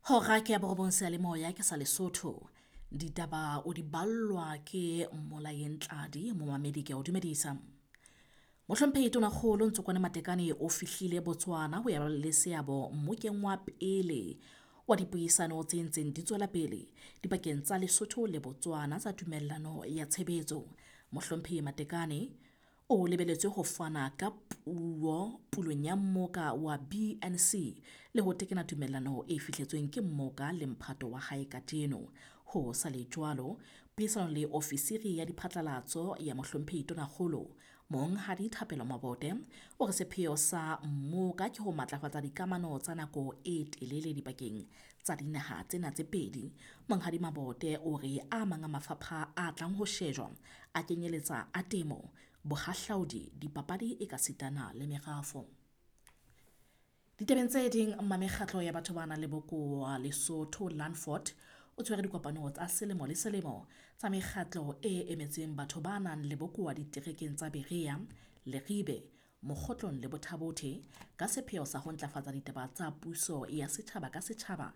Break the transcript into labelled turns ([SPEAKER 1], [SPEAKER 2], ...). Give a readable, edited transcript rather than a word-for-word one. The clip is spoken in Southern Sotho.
[SPEAKER 1] Hora ke ya borobong seyalemoya ke sa Lesotho. Ditaba o di ballwa ke Mmolayeng Tladi, momamedi ke a o dumedisa. Mohlomphehi Tonakgolo Ntsokoane Matekane o fihlile Botswana ho ya ba le seabo mmokeng wa pele wa dipuisano tse ntseng di tswela pele dipakeng tsa Lesotho le Botswana tsa tumellano ya tshebetso. Mohlomphehi Matekane o lebelletswe ho fana ka puo pulong ya mmoka wa BNC le ho tekena tumellano e fihletsweng ke mmoka le mphato wa hae kajeno. Ho sa le jwalo, puisanong le ofisiri ya diphatlalatso ya Mohlomphehi Tonakgolo, Monghadi Thapelo Mabote, o re sepheo sa mmoka ke ho matlafatsa dikamano tsa nako e telele dipakeng tsa dinaha tsena tse pedi. Monghadi Mabote o re a mang a mafapha a tlang ho shejwa a kenyeletsa a temo, bohahlaudi, dipapadi ekasitana le merafo. Ditabeng tse ding, mmamekgatlo ya batho ba nang le bokowa Lesotho Landford o tshwere dikopano tsa selemo le selemo tsa mekgatlo e emetseng batho ba nang le bokowa diterekeng tsa Berea, Leribe, Mokhotlong le Botha-Bothe ka sepheo sa ho ntlafatsa ditaba tsa puso ya setjhaba ka setjhaba.